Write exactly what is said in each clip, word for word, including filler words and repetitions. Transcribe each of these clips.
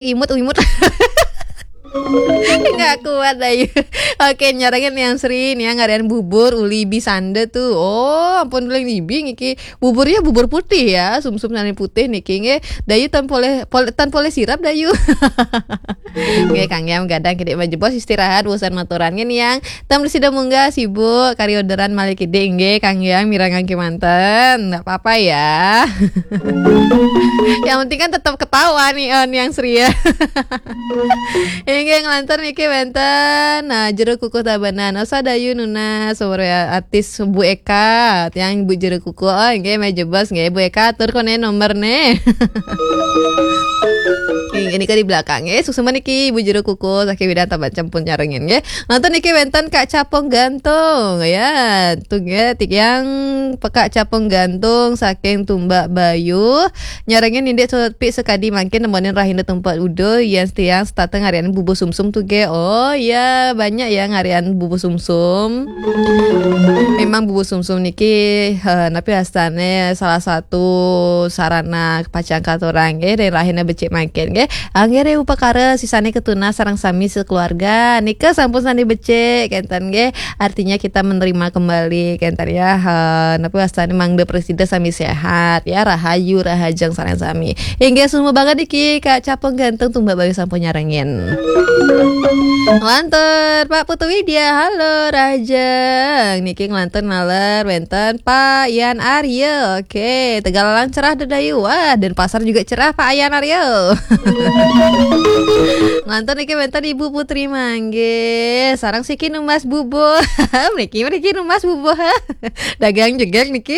Imut, imut. Nggak kuat, Dayu. Oke, nyarengin Niang Sri, Niang ngarian bubur uli bisanda tuh. Oh, ampun, uling ibi niki. Buburnya bubur putih ya, sumsum sané putih niki nggih. Dayu tan poleh, pol-, tan poleh sirap, Dayu. Nggih, Kang Yam gadang kidik majebos istirahat, bosan maturan nggih, Niang. Tam sida munggah sibuk kari orderan malih kidik nggih, Kang Yam mirengang kémanten. Nggak apa-apa ya. Yang penting kan tetap ketawa nih, eh, Niang Sri ya. Inggih, nglantur niki wénten, nah, jero kukuh Tabanan. Osa Dayu nunas, sore artis Bu Eka, tiang Bu Jero Kukuh. Oh, inggih, majebos nggih, Bu Eka, atur koné nomorné. Inggih, nika di belakang nggih. Suksma niki Ibu Jero Kukuh saking Widang Tabanan sampun nyarengin nggih. Nonton niki wénten Kak Capung Gantung ya. Tuh nggih, tiang Kak Capung Gantung saking Tumbak Bayu. Nyarengin indik sepi sekadi mangkin nemonin rahina tempat udo, yén tiang setata ngarian bubur sumsum tuh nggih. Oh ya, banyak ya ngarian bubur sumsum. Memang bubur sumsum niki, eh, napi astané salah satu sarana pacang katurang nggih, ring rahina becik mangkin nggih. Anggih ring upakara sisané katunas sareng sami sekeluarga. Nika sampun sané becik kénten nggih. Artinya kita menerima kembali kénten ya. Eh, napi astané mangda prasida sami sehat ya, rahayu, rahajeng sareng sami. Inggih, suksma banget niki Kak Capung Gantung Tumbak Bayu sampun nyarengin. Nglantur Pak Putu Widya, halo rahajeng. Niki nglantur naler wénten Pak Yan Arya. Oke, Tegallalang cerah Dayu. Wah, Denpasar juga cerah Pak Yan Arya. Nglantur niki wénten Ibu Putri Manggis, sareng siki numbas bubuh. Mriki, mriki numbas bubuh. Dagang jegég niki.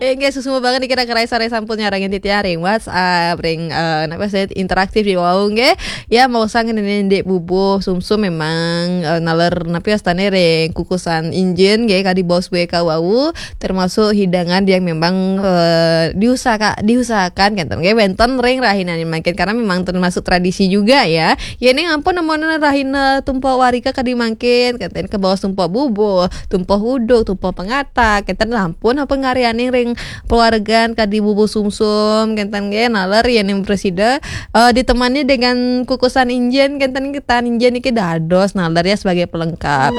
Inggih, suksma banget niki, raka rai sareng sampun nyarengin titiang ring WhatsApp, ring, eh, napa sih, interaktif di wau nggih. Ya, mau sang ngenenin dek bubuh sumsum memang, eh, naler napi astané ring kukusan injin nggih, kadi bos W K wau, termasuk hidangan yang memang, eh, diusahaka-, diusahakan kénten nggih, wénten ring rahinané mangkin karena memang termasuk tradisi juga ya. Yén ampun nemonin rahina Tumpek Warika kadi mangkin, kénten kabaos tumpek bubuh, tumpek uduk, tumpek pangatak, kénten ampun apa ngarianing ring pawargan kadi bubuh sumsum, kénten nggih, naler yén prasida, eh, ditemani dengan kukusan injin, kénten kénten injin niki dados naler ya sebagai pelengkap.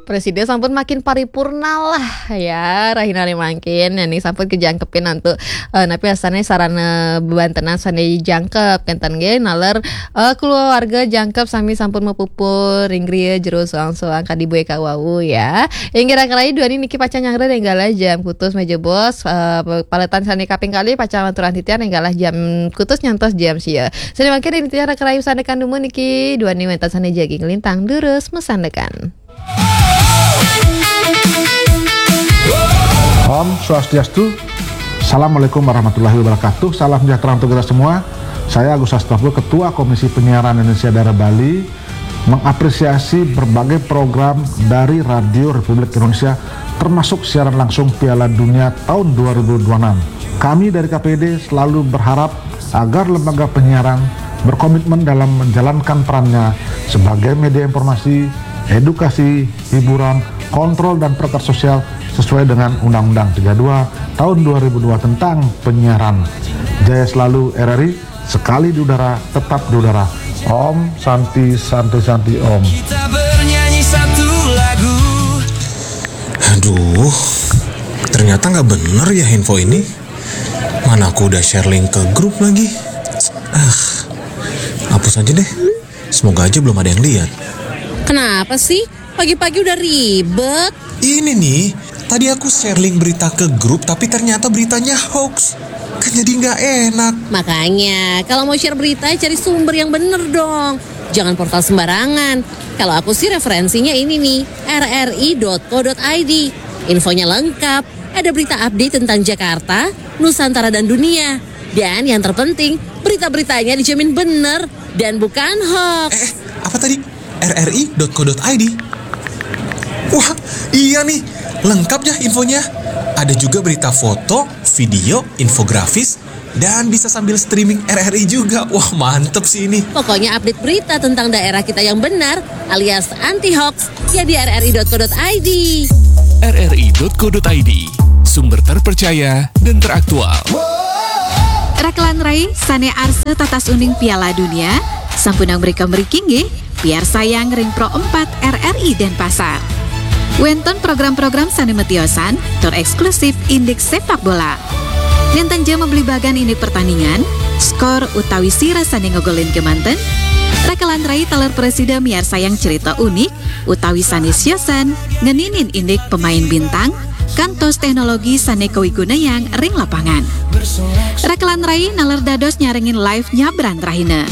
Prasida sampun makin paripurna lah ya, rahinané mangkin. Nah, niki sampun kajangkepin antuk, eh, napi astané sarana bebantenan sané jangkep, kénten nggih, naler, eh, keluarga jangkep sami sampun mapupul ring griya jero soang-soang kadi bué kawau ya. Inggih raka rai, duaning niki pacang nyanggra ring galah jam kutus majebos, eh, paletan sané kaping kalih pacang aturang titiang ring galah jam kutus nyantos jam sia. Sané mangkin ring titiang raka rai masandekan dumun niki, duaning wénten sané jagi nglintang durus masandekan. Om Swastiastu. Assalamualaikum warahmatullahi wabarakatuh. Salam sejahtera untuk kita semua. Saya Agus Astagfur, Ketua Komisi Penyiaran Indonesia Daerah Bali, mengapresiasi berbagai program dari Radio Republik Indonesia, termasuk siaran langsung Piala Dunia tahun dua ribu dua puluh enam. Kami dari K P D selalu berharap agar lembaga penyiaran berkomitmen dalam menjalankan perannya sebagai media informasi, edukasi, hiburan, kontrol, dan perangkat sosial sesuai dengan Undang-Undang tiga dua tahun dua ribu dua tentang penyiaran. Jaya selalu R R I, sekali di udara, tetap di udara. Om Santi, Santi, Santi, Om. Kita bernyanyi satu lagu. Aduh, ternyata nggak bener ya info ini. Mana aku udah share link ke grup lagi. Ah, hapus aja deh. Semoga aja belum ada yang lihat. Kenapa sih? Pagi-pagi udah ribet. Ini nih, tadi aku share link berita ke grup, tapi ternyata beritanya hoax. Kan jadi nggak enak. Makanya, kalau mau share berita, cari sumber yang bener dong. Jangan portal sembarangan. Kalau aku sih referensinya ini nih, R R I dot co dot I D. Infonya lengkap, ada berita update tentang Jakarta, Nusantara dan dunia. Dan yang terpenting, berita-beritanya dijamin bener dan bukan hoax. Eh, eh, apa tadi? R R I dot co dot I D. Wah, iya nih, lengkap ya infonya. Ada juga berita foto, video, infografis, dan bisa sambil streaming R R I juga. Wah, mantep sih ini. Pokoknya update berita tentang daerah kita yang benar alias anti hoax ya di R R I dot co dot I D. R R I dot co dot I D, sumber terpercaya dan teraktual. Rakelan rai sané arsa tatas uning Piala Dunia, sampunang mrika mriki nggih, piarsayang ring Pro empat R R I Denpasar. Wénten program-program sané matiosan tur éksklusif indik sepak bola. Nénten ja mablibagan indik pertandingan, skor utawi sira sané ngogolin kémanten, rakelan rai taler prasida miarsayang cerita unik utawi sané siosan ngeninin indik pemain bintang, kantos teknologi sané kawigunayang ring lapangan. Rakelan rai naler dados nyarengin live nyabran rahina.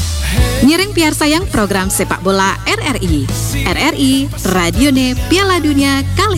Ngiring piarsayang program sepak bola R R I. R R I, radioné Piala Dunia kalih